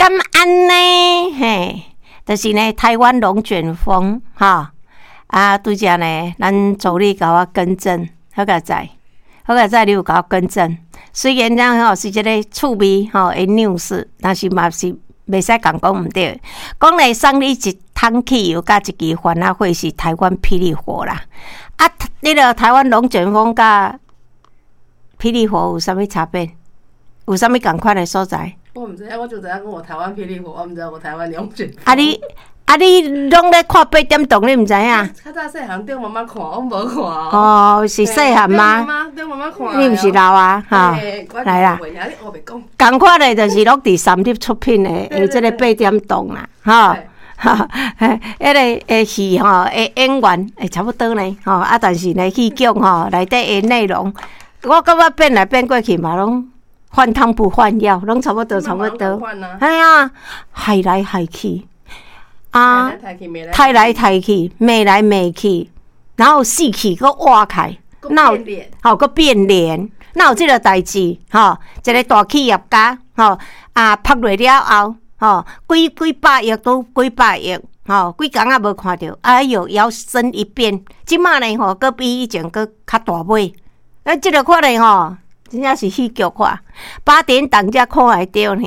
敢按呢？嘿，就是呢，台灣龍捲風，吼。啊，拄才呢，咱助理共我更正，好佳哉，好佳哉，你有共我更正。雖然講吼是一个趣味吼的 news，但是嘛是袂使共講毋對。講咧送你一桶汽油佮一支番仔火是台灣霹靂火啦。啊，彼个台灣龍捲風佮霹靂火有啥物差別？有啥物仝款的所在？我毋知影，我就知影講有台灣霹靂火，我毋知有台灣龍捲風。啊你攏咧看八點檔，你毋知影？較早細漢著媽媽看，我無看。哦，是細漢嗎？著媽媽看。你毋是老啊？吼，來啦。仝款的，就是攏佇三立出品的，的這个八點檔啦，吼。哈，彼个的戲吼，的演員會差不多呢，吼啊，但是呢，戲劇吼內底的內容，我感覺變來變過去嘛，攏換湯不換藥，攏差不多，差不多。系啊，害來害去，啊，刣來刣去，罵來罵去，然後死去閣活起，哪有吼閣變臉，哪有這个代誌？吼，一个大企業家，吼啊，拍落了後，吼幾幾百億都幾百億，吼幾工仔無看著，哎喲，搖身一變，這馬呢吼，閣比以前閣較大尾，啊，這个看咧吼，真正是戲劇化，八點檔才看會著爾。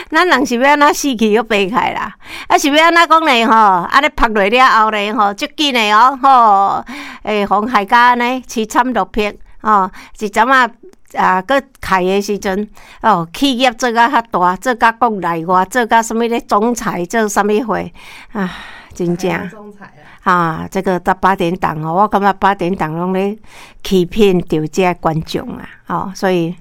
咱人是欲按怎死去閣爬起來啦？啊是欲按怎講呢？吼，按呢拍落了後呢？吼，足緊的哦，吼，會予害甲按呢淒慘落魄，吼，一陣仔啊，閣開的時陣，哦，企業做甲較大，做甲國內外，做甲啥物咧總裁，做啥物貨啊？真正啊，這個到八點檔哦，我感覺八點檔攏咧欺騙著這觀眾啊，吼，所以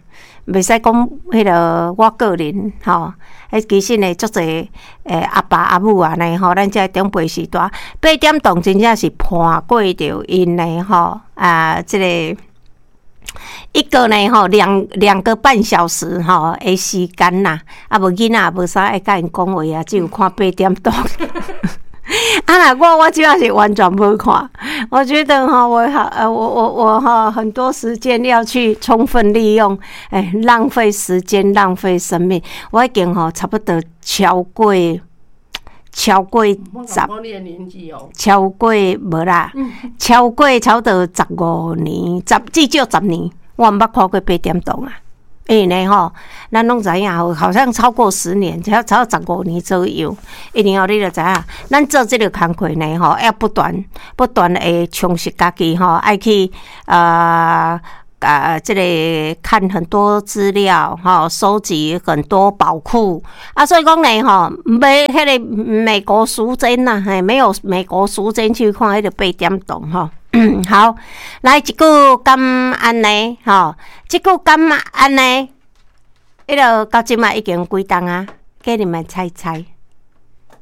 袂使講彼个我個人吼，彼其實呢，足濟阿爸阿母按呢吼，咱這長輩時代八點檔真正是伴過著𪜶的吼啊，這個一個呢吼兩個半小時吼的時間啦，啊無囡仔也無啥愛佮𪜶講話啊，只有看八點檔。啊若我這馬是完全無看，我覺得吼我好我哈很多時間要去充分利用，欸，浪費時間，浪費生命，我已經吼差不多超過十，超過無啦，超過差不多15年，至少十年，我毋捌看過八點檔啊。因為呢吼，咱攏知影，好像超過10年，超過15年左右。一定吼，你就知影，咱做這个工課呢吼，要不斷不斷的充實家己吼，愛去這个看很多資料吼，收集很多寶庫啊，所以講呢吼，沒彼个美國時間呐，嘿，沒有美國時間去看彼个八點檔吼。好，來一句敢按呢，吼，這句敢按呢，彼个到這馬已經幾冬啊？給你們猜猜，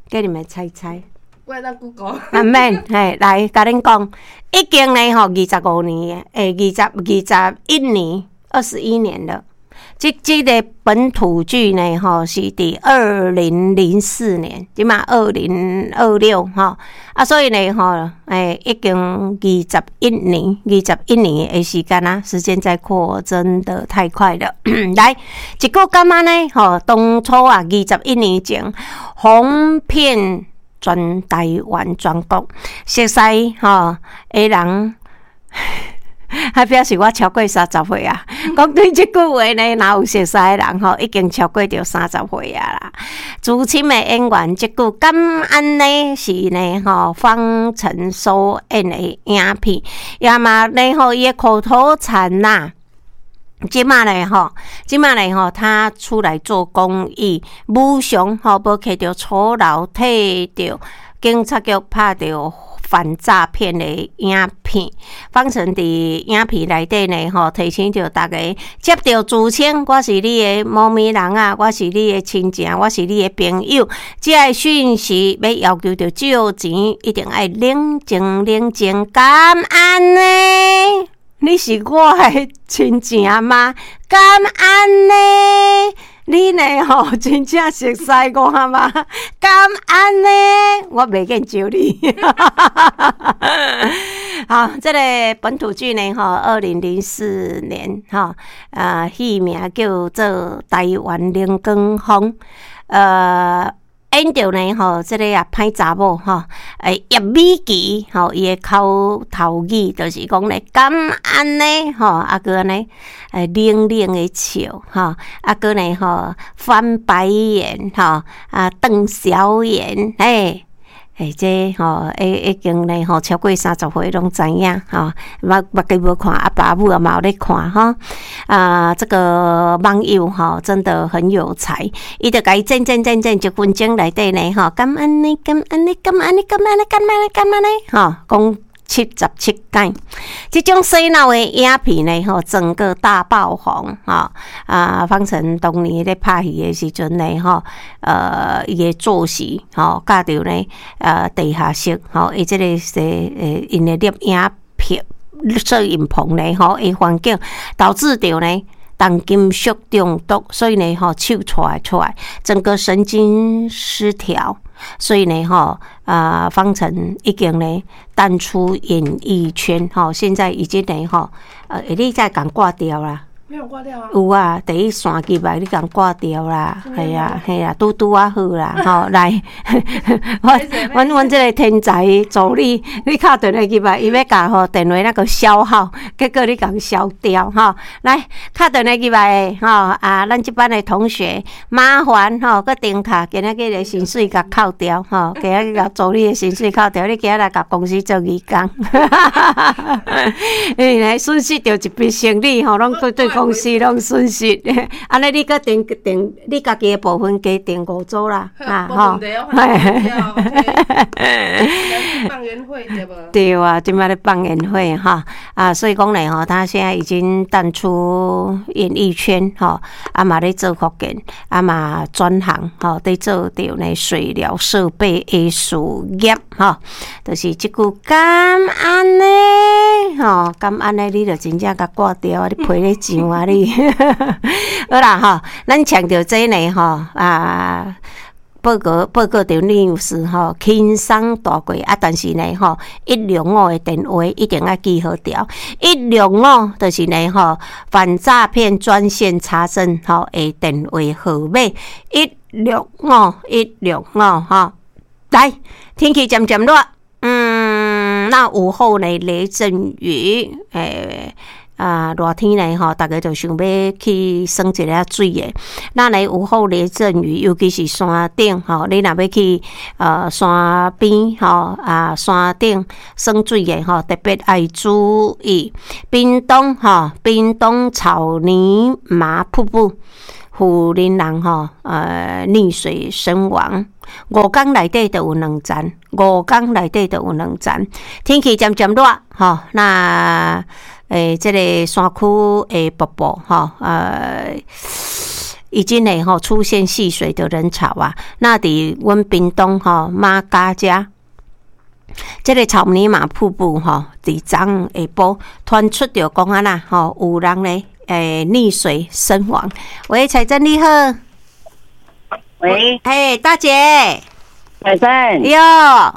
給你們猜猜。我會當 Google。啊免，嘿，來，共恁講，已經呢吼，25年，欸，21年，21年了。這個本土劇呢，吼，是佇2004年，這馬2026吼，啊，所以呢，吼，欸，已經二十一年，二十一年的時間啊，時間在過，真的太快了。來，一句敢按呢，吼，當初啊，21年前，紅遍全台灣全國，熟似吼的人。還表示我超過30歲啊！講對這句話呢，若有熟似的人吼，已經超過著三十歲啊啦。資深的演員，這句敢按呢是呢吼，方晨所演的影片，也嘛呢吼，伊的口頭禪呐。這馬呢吼，這馬呢吼，他出來做公益，無償吼，無摕著酬勞，替著警察局拍著反詐騙的影片，方晨佇影片內底呢，吼，提醒著大家，接著自稱我是你的某某人啊，我是你的親情，我是你的朋友，這个訊息欲要求著借錢，一定愛冷靜冷靜，敢按呢？你是我的親情嗎？敢按呢？你呢？吼，真正熟似我嗎？敢按呢？我袂見招你。好，這个本土劇呢，吼，2004年，吼，啊，戲名叫做《台灣龍捲風》，演著呢，吼，這个啊歹查某，吼，葉美琪，吼，伊的口頭語就是講咧，敢按呢，吼，啊閣按呢，冷冷的笑，吼，啊閣呢，吼，翻白眼，吼，啊瞪小眼，嘿。欸，這吼，已經呢吼，超過30歲攏知影吼，目目己無看，阿爸母也嘛有咧看吼。啊，這個網友吼，真的很有才，伊就共伊剪剪剪剪，一分鐘內底呢吼，敢按呢，敢按呢，敢按呢，敢按呢，敢按呢，敢按呢，吼，講77擺，這種洗腦的影片呢，吼，整個大爆紅，吼啊！方成當年咧拍戲的時陣呢，吼，伊的作息，吼，佮著呢，地下室，吼，伊這个是𪜶的攝影棚、攝影棚呢，吼，的環境導致著呢重金屬中毒，所以呢，吼，手掣出來，整個神經失調。所以呢，吼，啊，方成已經呢淡出演藝圈，吼，現在已經呢，吼，你再共掛掉啦。沒有掛掉啊。有啊，第一線入來你共掛掉啦，係啊，係啊，拄拄仔好啦，吼，來，阮這个天才助理，你敲電話入來，伊欲共吼電話那個消耗，結果你共消掉，吼，來，敲電話入來的，吼，啊，咱這班的同學，麻煩吼，閣重敲，今仔日的薪水共扣掉，吼，今仔日共助理的薪水扣掉，你今仔來共公司做義工，因為呢損失著一筆生意，吼，攏對公司攏損失，按呢你閣訂訂，你家己的部分加訂五組啦，啊吼，放煙火對無？對啊，這擺咧放煙火哈，啊，所以講咧吼，他現在已經淡出演藝圈吼，啊嘛咧做福建，啊嘛轉行吼，佇做著呢水療設備的事業吼，就是這句敢按呢吼，敢按呢，你就真正共掛掉啊，你陪咧上啊你，好啦吼，咱強調這呢吼啊。報告著 news 吼，輕鬆帶過啊！但是呢吼，165的電話一定愛記好牢。一六五就是呢吼，反詐騙專線查證吼的電話號碼，一六五一六五吼。來，天氣漸漸熱，那午後呢雷陣雨，啊，熱天呢吼，逐家就想欲去耍一下水的。那呢午後雷陣雨，尤其是山頂吼，你若欲去山邊吼啊山頂耍水的吼，特別愛注意。屏東吼，屏東草泥馬瀑布，婦人人吼溺水身亡。5工內底就有兩層，五工內底就有兩層。天氣漸漸熱吼，那。這个山區的瀑布吼，已經呢吼出現戲水的人潮啊。那佇阮屏東吼馬家遮，這个草泥馬瀑布吼，佇昨昏下晡傳出著講按怎吼，有人呢溺水身亡。喂，彩珍你好。喂。嘿，大姐。彩珍。喲。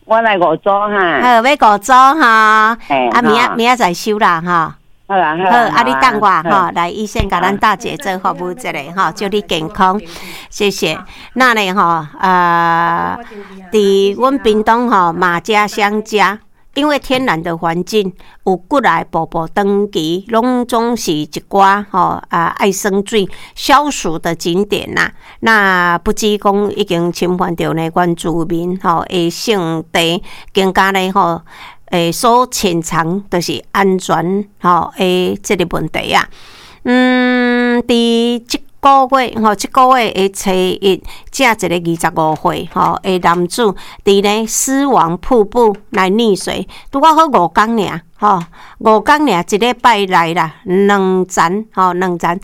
我來五組哈。好，欲五組哈。啊，明仔載收啦哈。好啦好。啊，你等我吼，來醫生共咱大姐做服務一下吼，祝你健康，謝謝。那呢吼，啊，佇阮屏東吼馬家鄉遮，因為天然的環境，有幾來瀑布長期攏總是一寡吼啊愛耍水消暑的景點啦。那不只講已經侵犯著呢原住民吼的聖地，更加呢吼所潛藏就是安全吼的這个問題啊。佇這個月吼，這個月的初一，這一个25歲吼的男子，佇呢獅王瀑布來溺水，拄仔好五工爾吼，五工爾一禮拜內啦，兩層吼，兩層，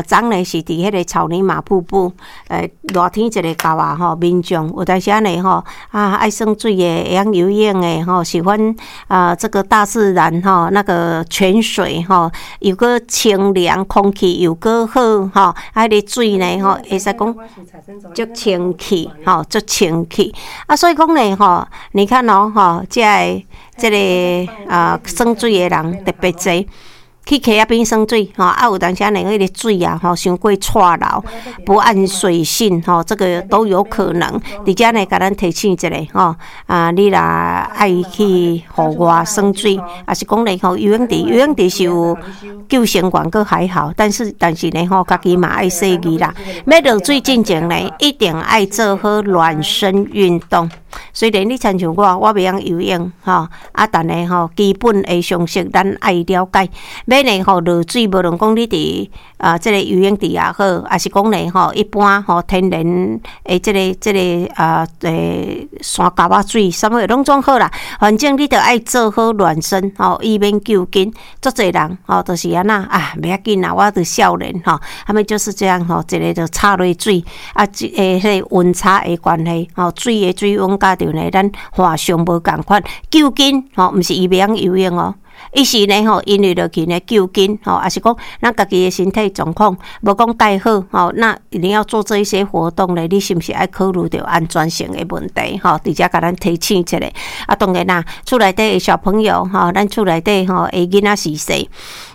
昨呢是佇彼个草泥馬瀑布，熱天一个到啊吼，民眾有當時仔呢吼，啊愛耍水的，會曉游泳的吼，喜歡啊這個大自然吼，那個泉水吼，又閣清涼，空氣又閣好吼，啊，彼个水呢吼，會使講足清氣吼，足清氣啊，所以講呢吼，你看哦吼，這个。這个啊耍水的人特別濟。去溪仔邊耍水，吼啊有當時呢，彼个水啊，吼傷過掣流，不諳水性，吼，這個都有可能。佇遮呢，共咱提醒一下，吼啊，你若愛去戶外耍水，抑是講咧吼游泳池，游泳池是有救生員，閣還好，但是呢，吼，家己嘛愛細膩啦。欲落水進前呢，一定愛做好暖身運動。雖然你親像我，我袂曉游泳，吼啊，但係吼基本的常識咱愛了解。欲呢吼落水，無論講你佇啊這个游泳池也好，抑是講呢吼一般吼天然的這个啊山溝仔水，啥物攏總好啦。反正你著愛做好暖身，吼，以免救緊。足濟人吼，就是按怎啊，袂要緊啦，我著少年吼，他們就是這樣吼，一个就插落水，啊，這个彼个溫差的關係，吼，水的水溫佮著呢，咱岸上無仝款，救緊吼，毋是伊袂曉游泳哦。伊是呢吼，因為落去呢救緊吼，抑是講咱家己的身體狀況無講蓋好吼，那你要做這一些活動呢，你是毋是愛考慮著安全性的問題吼？佇遮共咱提醒一下。啊，當然啦，厝內底的小朋友吼，咱厝內底吼的囡仔是細。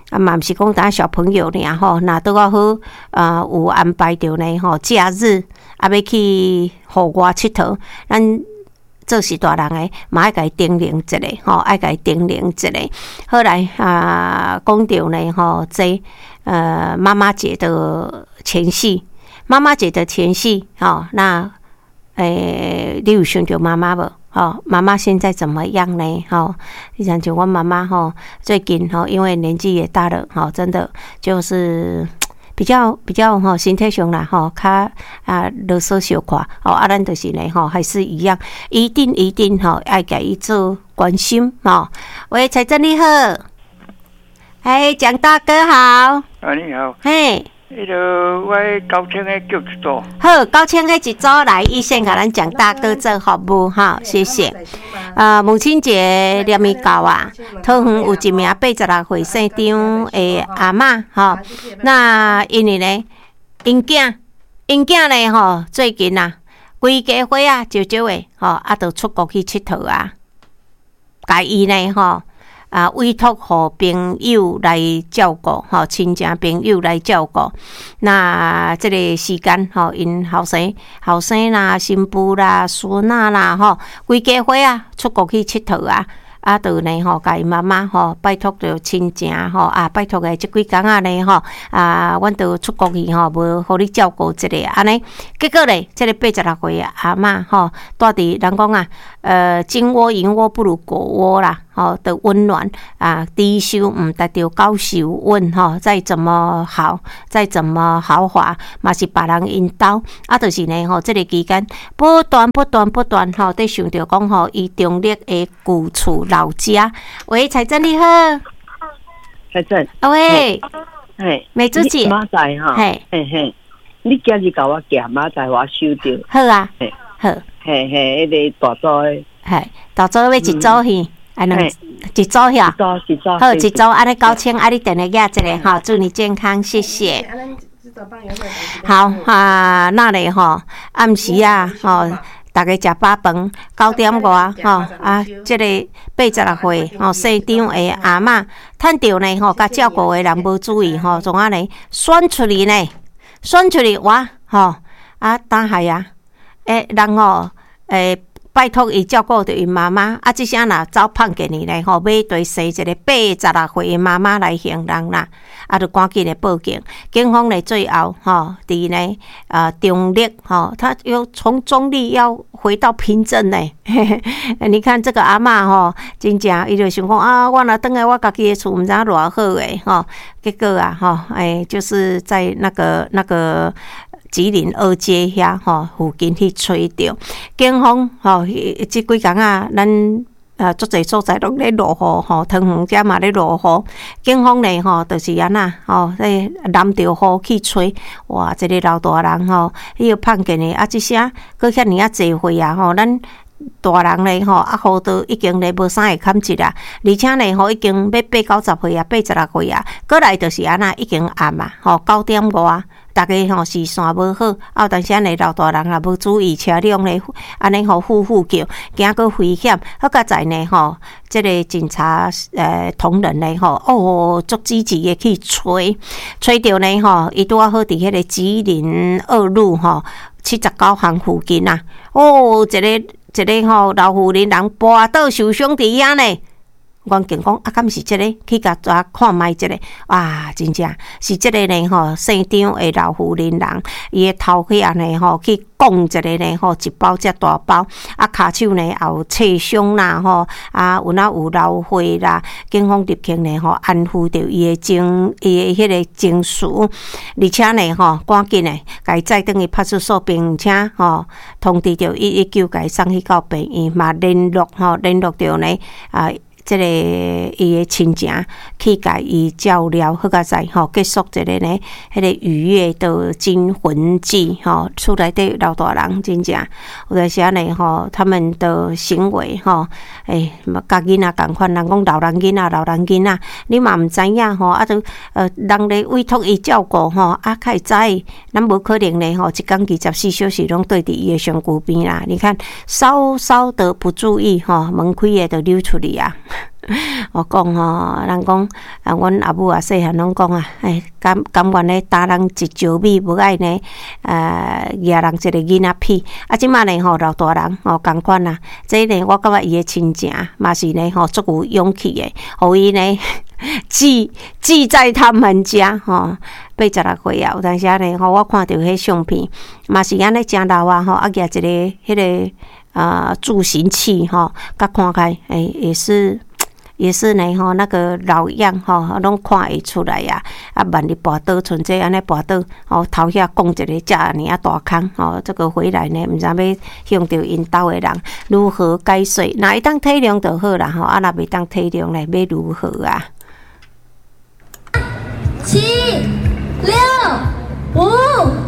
啊，嘛毋是講單小朋友爾吼，若拄仔好啊，有安排著呢吼，假日啊欲去戶外𨑨迌，咱做是大人的，嘛愛共伊叮嚀一下吼，愛共伊叮嚀一下。好來啊，講著呢吼，這媽媽節的前夕，媽媽節的前夕，吼，那你有想著媽媽無？吼，媽媽現在怎麼樣呢？吼，你像像阮媽媽吼，最近吼，因為年紀也大了，吼，真的就是比較吼，身體上啦吼，較啊囉嗦小可，吼啊，咱就是呢吼，還是一樣，一定一定吼，愛共伊做關心吼。喂，財政你好，哎，蔣大哥好。啊，你好。嘿。彼个我九千个叫一組。好，九千个一組來，伊先共咱蔣大哥做服務哈，謝謝。啊，母親節連咪到啊，桃園有一名86歲姓張的阿嬤吼，那因為呢，𪜶囝，𪜶囝呢吼，最近啊，規家伙仔少少的吼，啊，就出國去𨑨迌啊，共伊呢吼。啊，委託予朋友來照顧，吼，親情朋友來照顧。那這个時間，吼，𪜶後生、後生啦、新婦啦、孫仔啦，吼，規家伙仔出國去𨑨迌啊！啊，就呢吼，共𪜶媽媽吼，拜託著親情吼，啊，拜託的這幾工仔呢吼，啊，阮著出國去吼，無予你照顧一下按呢。結果咧，這个86歲的阿嬤吼，蹛佇人講啊，金窩銀窩不如狗窩啦，吼的溫暖啊，豬泅毋值著狗泅穩吼，再怎麼好，再怎麼豪華，嘛是別人𪜶兜。啊，就是呢吼，這个期間不斷不斷不斷吼，佇想著講吼，伊中壢的舊厝老家。喂，彩珍你好。彩珍。啊喂。嘿，美珠姐。明仔載哈。嘿。嘿嘿，你今日共我寄，明仔載我收著。好啊。好。嘿嘿，彼个大組的。嘿，大組欲一組去，啊兩一組遐。一組一組。好，一組按呢9000，啊你電話寄一下吼，祝你健康，謝謝。好啊，那咧吼，暗時啊吼。逐家食飽飯，9點外吼啊，這个86歲吼姓張的阿嬤，趁著呢吼，共照顧的人無注意吼，創按呢選出去呢，選出去哇吼啊，當害啊，欸人吼欸拜託伊照顧著𪜶媽媽，啊，這聲若走碰見伊咧吼，馬蹄生一个86歲的媽媽來還人啦，啊，就趕緊來報警。警方咧最後吼，佇呢啊中壢吼，他又從中壢要回到平鎮呢。你看這個阿嬤吼，真正伊就想講啊，我若轉來我家己的厝，毋知影偌好的吼。結果啊吼，欸，就是在那個吉林二街遐吼附近去揣著，警方吼，這幾工啊，咱啊足濟所在攏咧落雨吼，桃園遮嘛咧落雨。警方咧吼，就是按怎吼，咧淋著雨去揣，哇，一个老大人吼，彼个碰見的啊，這聲閣遐爾仔濟歲啊吼，咱大人咧吼，啊，雨都已經咧無啥會坎一啦，而且咧吼，已經欲八九十歲啊，86歲啊，閣來就是按怎已經暗啊，吼，9點外。逐家吼視線無好，啊有當時呢老大人也無注意車輛咧，按呢吼呼呼叫，驚閣危險。好佳哉呢吼，這个警察同仁呢吼，哦，足積極的去揣，揣著呢吼，伊拄仔好佇彼个吉林二路吼79巷附近啊，哦，一个一个吼老婦人人跋倒受傷佇遐呢。阮警講啊，敢是這个？去共抓看覓這个，哇，真正是這個呢吼，姓張的老婦人人，伊的頭去按呢吼，去摃一个呢吼，一包遮大包，啊，跤手呢也有切傷啦吼，啊，有哪有流血啦，警方立刻呢吼安撫著伊的情，伊的彼个情緒，而且呢吼，趕緊的共伊載轉去派出所，並且吼通知著119，共伊送去到病院，嘛聯絡吼聯絡著呢啊。這个伊的親情去共伊照料，好佳哉吼，結束這个呢，彼个雨夜的驚魂記吼，厝內底老大人真正有當時按呢吼，他們的行為吼，欸，佮囡仔仝款，人講老人囡仔，老人囡仔，你嘛毋知影吼，啊，都人咧委託伊照顧吼，啊，較會知，咱無可能咧吼，一工24小時攏綴佇伊的身軀邊啦。你看，稍稍的不注意吼，門開的就溜出去啊。我講吼，人講啊，阮阿母啊，細漢攏講啊，欸，甘甘願咧擔人一石米，無愛呢，攑人一個囡仔屁。啊，這馬呢吼，老大人吼仝款啊，這呢，我感覺伊的親情嘛是呢吼，足有勇氣的，予伊呢寄寄在他們家吼，86歲啊，有當時呢吼，我看著彼相片，嘛是按呢誠老啊吼，啊，攑一个彼个啊助行器吼，佮看開，欸，也是。也是呢吼，那个老樣吼，攏看會出來啊！啊，萬一跋倒，賰這按呢跋倒，吼頭遐摃一个遮爾仔大空，吼，這个回來呢，毋知欲向著𪜶兜的人如何解釋？若會當體諒就好啦，吼，啊，若袂當體諒咧，欲如何啊？七、六、五。